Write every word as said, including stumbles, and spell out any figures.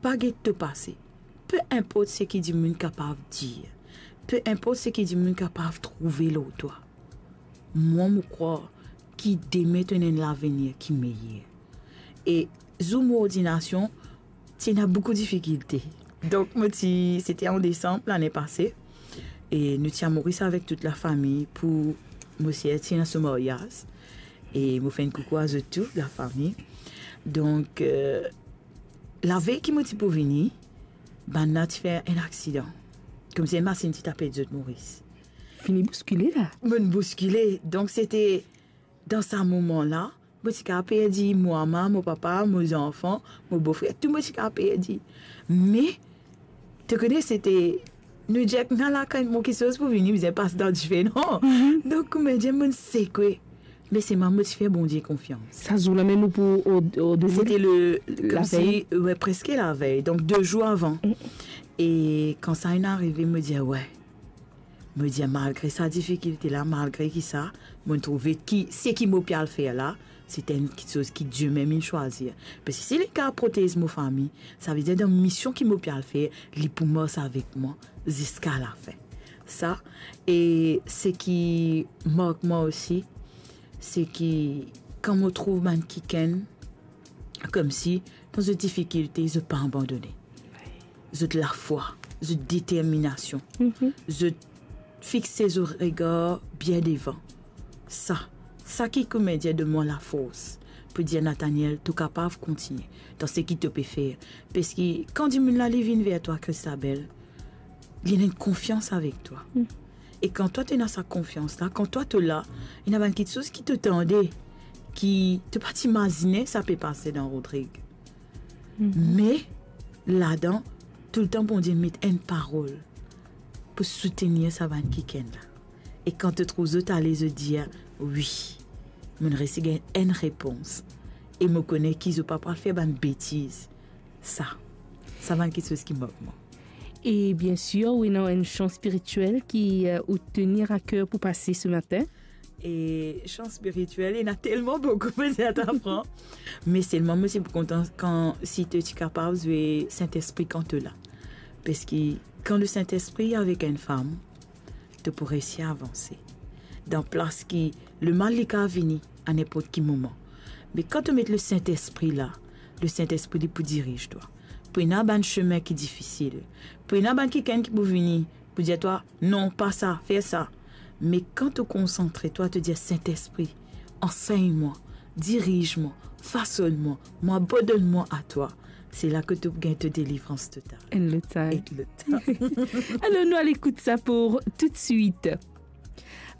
pa get to pase. Pe inport seki dimoun kapav dir, pe inport seki dimoun kapav trouve lor twa, mwa mo krwar ki dime to ena enn lavenir ki meyer. E zour mo ordinasion, ti ena boukou difikilte. Donk, mo ti, sete an desanm lane pase, e nou ti a Moris avek tout lafami pou mo ser ti ena so maryaz. E mo fer enn koukou a zot tou, lafami. Donk, eh, lavey ki mo ti pou vini, bann la ti fer enn aksidan. Koumsi enn masinn ti tape zot Moris. Fini bouskile la. Mo'nn bouskile. Donk, sete dan sa moman la, mo ti kapav perdi mo mama, mo papa, mo zanfan, mo bofrer, tou mo ti kapav perdi. Me, to kone, sete, nou dir, kan la, kan mo kiksoz pou vini, bizin pas dan dife, non? Mhm. Donk, kouma dir, mo'nn sekwe. Me selman mo ti fer Bondie konfians. Sa zour la mem ou pou o, o demin? Sete le, koumsi, lavey? We, preske lavey. Donk, de zour avan. Mm. E kan sa inn arive, mo dir, we. Mo dir, malgre sa difikilte la, malgre ki sa, mo'nn trouve ki, seki mo pe al fer la, sete enn kiksoz ki Dieu mem inn swazir. Parski si li kapav protez mo fami, savedir dan mision ki mo pe al fer, li pou mars avek mwa ziska lafin. Sa, e seki mark mwa osi, seki kan mo trouv bann kikenn, koumsi, dan zot difikilte, zot pa abandone. Zot lafwa, zot determinasion, mhm, zot fixe zot regar bien devan. Sa, sa ki, kouma dir, donn mwa lafors pou dir, Nathaniel, to kapav kontigne dan seki to pe fer. Parski kan dimoun la, li vinn ver twa, Christabel, li ena enn konfians avek twa. Mm. E kan twa to ena sa konfians la, kan twa to la, ena bann kiksoz ki to tande, ki to pa ti imazine sa pe pase dan Rodrig. Mhm. Me, ladan, toultan Bondie met enn parol pou soutenir sa bann kikenn la. E kan to trouv zot ale, zot dir, wi, mo'nn resi gagn enn repons. E mo kone ki zot pa pou al fer bann betiz. Sa, sa bann kiksoz ki mark mwa. E bien sir, ou ena enn sans spiritiel ki, euh, ou tenir à cœur pou pase ce matin? E sans spiritiel, ena telman boukou, pou dir twa fran. Me selman, mo ti pou kontan kan, si to ti kapav zwe Sintespri kan to la. Parski kan Lesintespri avek enn fam, to pou resi avanse. Dan plas ki lemal li kapav vini a ninport ki moman. Me kan to met Lesintespri la, Lesintespri li pou diriz twa. Pou ena bann sime ki difisil. Pou ena bann kikenn ki pou vini, pou dir twa, non, pa sa, fer sa. Me kan to konsantre twa, to dir, Sintespri, ansegn mwa, diriz mwa, fasonn mwa, mo abandonn mwa a twa. Se la ki to pou gagn to delivrans total. Enn lot sa. Enn lot sa. Alor, nou al ekout sa pou toutswit.